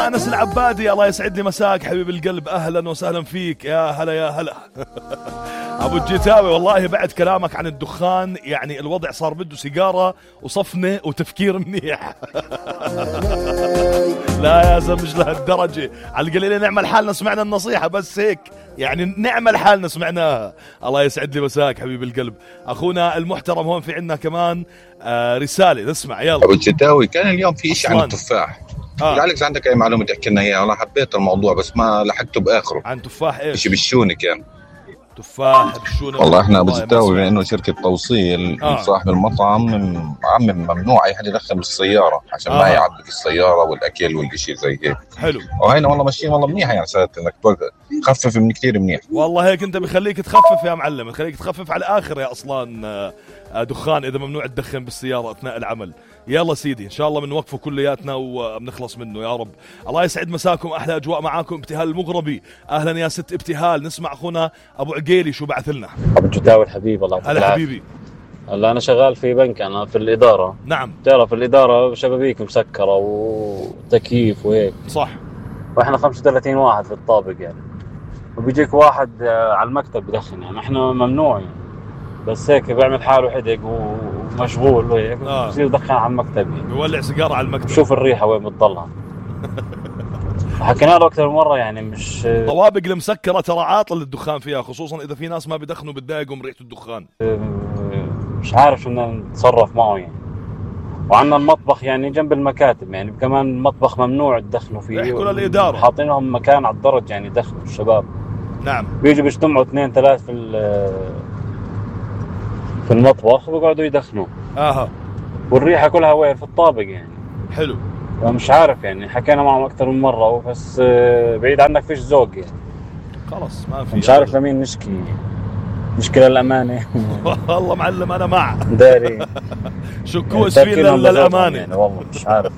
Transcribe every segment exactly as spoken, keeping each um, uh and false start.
أنس العبادي الله يسعد لي مساك حبيب القلب، أهلا وسهلا فيك، يا هلا يا هلا. أبو الجتاوي والله بعد كلامك عن الدخان يعني الوضع صار بده سيجارة وصفنة وتفكير منيح. لا يا زمج لهالدرجة، على القليلة نعمل حالنا سمعنا النصيحة بس هيك يعني نعمل حالنا سمعناها. الله يسعد لي مساك حبيب القلب. أخونا المحترم هون في عنا كمان آه رسالة نسمع يلا. أبو الجتاوي كان اليوم في إشي عن التفاح، آه. لعلك عندك أي معلومة تحكي لنا إياها؟ أنا حبيت الموضوع بس ما لحقته بآخره. عن تفاح إيش؟ إشي بالشونة كان تفاح بالشونة. والله إحنا أبو الجتاوي بأنه شركة توصيل آه. صاحب المطعم عم ممنوع أي حد يدخل بالسيارة عشان آه. ما يعبي في السيارة والأكل والإشي زي هيك. حلو. وهينا والله ماشيين والله منيحة يعني سادت إنك تخفف من كتير منيح. والله هيك أنت بخليك تخفف يا معلم، بخليك تخفف على الآخر يا أصلا دخان إذا ممنوع تدخن بالسيارة أثناء العمل. يلا سيدي إن شاء الله بنوقفه كلياتنا وبنخلص منه يا رب. الله يسعد مساكم، أحلى أجواء معاكم. ابتهال المغربي أهلا يا ست ابتهال. نسمع أخونا أبو عقيلي شو بعث لنا. أبو الجتاوي الحبيب الله يعطيك هلا حبيبي. هلا أنا شغال في بنك، أنا في الإدارة. نعم. تعرف الإدارة شبابيك مسكرة وتكييف وهيك صح، وإحنا خمسة وثلاثين واحد في الطابق يعني، وبيجيك واحد على المكتب بدخن يعني إحنا ممنوع يعني. بس هيك بيعمل حاله حدق ومشغول وهيك آه. بصير يدخن على المكتب يعني. بيولع سيجارة على المكتب. شوف الريحة وين بتضلها. حكينا له أكثر مرة يعني مش طوابق المسكرة ترى عاطل للدخان فيها، خصوصا إذا في ناس ما بدخنوا بتضايقهم ريحة الدخان. مش عارف شو بدنا نتصرف معه يعني. وعندنا المطبخ يعني جنب المكاتب يعني كمان المطبخ ممنوع تدخنوا فيه. يحكوا للإدارة. حاطينهم مكان على الدرج يعني يدخنوا الشباب. نعم. بيجوا بيجتمعوا اثنين ثلاث في في المطبخ وبيقعدوا يدخنوا. اها. والريحة كلها وين في الطابق يعني. حلو. مش عارف يعني حكينا معهم أكثر من مرة بس بعيد عنك فيش ذوق يعني. خلاص ما في. مش عارف لمين نشكي. مشكلة الأمانة. والله معلم أنا مع. داري. شكوس فينا للأمانة. يعني والله مش عارف.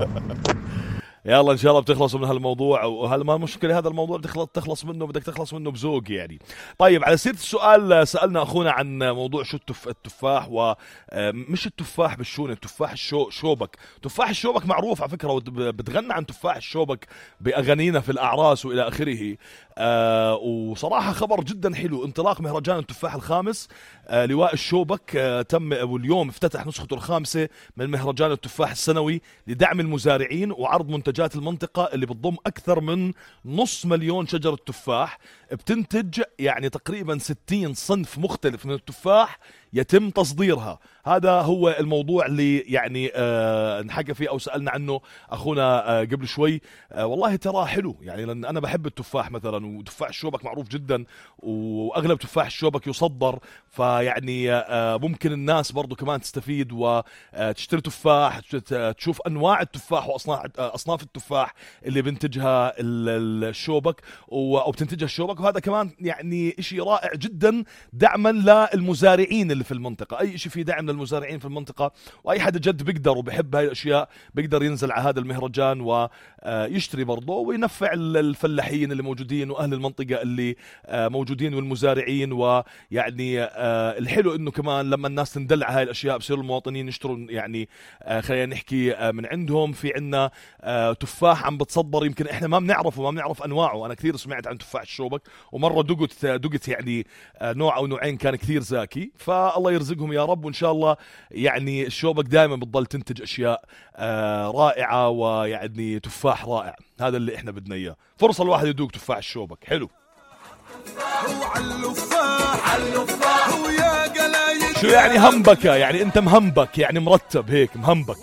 يلا ان شاء الله بتخلصوا من هالموضوع، وهل ما مشكله هذا الموضوع بتخلص تخلص منه بدك تخلص منه بذوق يعني. طيب على سيره السؤال سالنا اخونا عن موضوع شو التف... التفاح ومش التفاح بالشونه، التفاح الشو... شوبك. تفاح الشوبك معروف على فكره، بتغنى عن تفاح الشوبك باغانينا في الاعراس والى اخره. آه وصراحه خبر جدا حلو، انطلاق مهرجان التفاح الخامس آه لواء الشوبك آه تم واليوم افتتح نسخته الخامسه من مهرجان التفاح السنوي لدعم المزارعين وعرض منتجات المنطقة اللي بتضم أكثر من نص مليون شجرة تفاح بتنتج يعني تقريبا ستين صنف مختلف من التفاح يتم تصديرها. هذا هو الموضوع اللي يعني آه نحكى فيه أو سألنا عنه أخونا آه قبل شوي. آه والله ترى حلو يعني، لأن أنا بحب التفاح مثلا، وتفاح الشوبك معروف جدا وأغلب تفاح الشوبك يصدر، فيعني آه ممكن الناس برضو كمان تستفيد وتشتري تفاح، تشوف أنواع التفاح وأصناف التفاح اللي بنتجها الشوبك أو بتنتجها الشوبك. وهذا كمان يعني إشي رائع جدا دعما للمزارعين اللي في المنطقة. أي شيء في دعم للمزارعين في المنطقة، وأي حد جد بيقدر وبيحب هاي الأشياء بيقدر ينزل على هذا المهرجان ويشتري برضه وينفع الفلاحين اللي موجودين وأهل المنطقة اللي موجودين والمزارعين. ويعني الحلو إنه كمان لما الناس تندلع هاي الأشياء بصير المواطنين يشتروا يعني خلينا نحكي من عندهم. في عنا تفاح عم بتصدر يمكن إحنا ما بنعرفه ما بنعرف أنواعه. أنا كثير سمعت عن تفاح الشوبك ومرة دقت دقت يعني نوع أو نوعين كان كثير زاكي، فالله يرزقهم يا رب. وإن شاء الله يعني الشوبك دائما بتضل تنتج أشياء آه رائعة ويعني تفاح رائع. هذا اللي إحنا بدنا إياه، فرصة الواحد يدوق تفاح الشوبك. حلو. شو يعني همبكة؟ يعني أنت مهمبك يعني مرتب هيك مهمبك.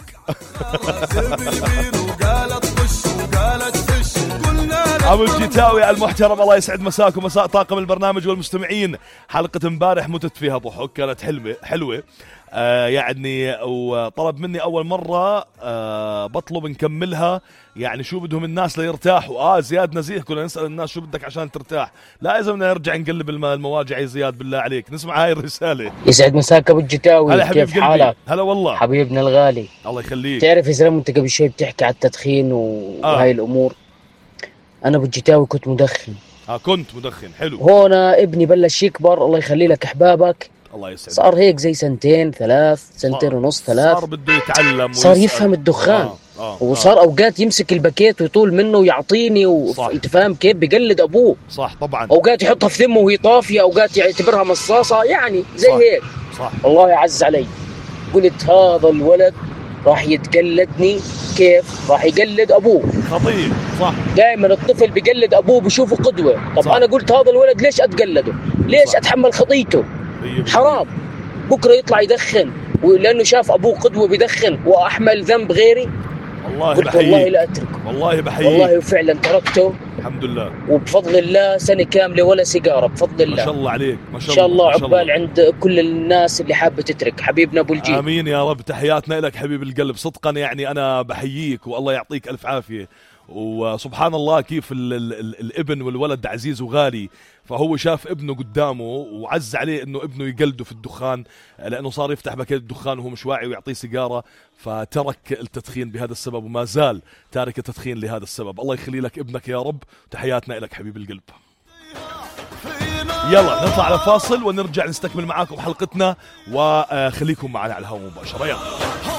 أبو الجتاوي المحترم الله يسعد مساكم مساء طاقم البرنامج والمستمعين. حلقة امبارح متت فيها ضحك، كانت حلوة حلوة آه يعني، وطلب مني أول مرة آه بطلب نكملها يعني شو بدهم الناس ليرتاحوا. آه زياد نزيه كنا نسأل الناس شو بدك عشان ترتاح. لا إذا بدنا نرجع نقلب المواجع يا زياد بالله عليك. نسمع هاي الرسالة. يسعد مساك أبو الجتاوي، كيف حالك؟ هلا والله حبيبنا الغالي الله يخليك. تعرف يا زلمة أنت قبل شوي بتحكي على التدخين وهاي آه. الأمور. أنا أبو الجتاوي كنت مدخن. آه كنت مدخن. حلو. هون ابني بلش يكبر الله يخلي لك أحبابك، الله يسعدك، صار هيك زي سنتين ثلاث سنتين ونص ثلاث، صار بده يتعلم صار يفهم الدخان. آه. آه. وصار آه. اوقات يمسك الباكيت ويطول منه ويعطيني وانت فاهم كيف بقلد ابوه. صح طبعا. اوقات يحطها في ذمه وهي طافيه، اوقات يعتبرها مصاصه، يعني زي صح. هيك. صح. الله يعز علي. قلت هذا الولد راح يتقلدني، كيف راح يقلد ابوه؟ خطير. صح. دائما الطفل بيقلد ابوه، بشوفه قدوه. طب صح. انا قلت هذا الولد ليش اتقلده؟ ليش صح. اتحمل خطيته؟ حرام بكره يطلع يدخن ولانه شاف ابوه قدوه بدخن واحمل ذنب غيري. والله قلت بحييك. والله لا اتركه. والله بحييك. والله فعلا تركته الحمد لله، وبفضل الله سنه كامله ولا سيجاره بفضل الله. ما شاء الله عليك، ما شاء الله. ان شاء الله ما شاء الله. عقبال عند كل الناس اللي حابه تترك حبيبنا ابو الجيل. امين يا رب. تحياتنا لك حبيب القلب، صدقا يعني انا بحييك والله يعطيك الف عافيه. وسبحان الله كيف ال ال ال الابن والولد عزيز وغالي، فهو شاف ابنه قدامه وعز عليه انه ابنه يقلده في الدخان، لانه صار يفتح باكيت الدخان وهو مش واعي ويعطيه سيجاره، فترك التدخين بهذا السبب وما زال تارك التدخين لهذا السبب. الله يخلي لك ابنك يا رب. تحياتنا لك حبيب القلب. يلا نطلع على فاصل ونرجع نستكمل معاكم حلقتنا، وخليكم معنا على الهواء مباشره. يلا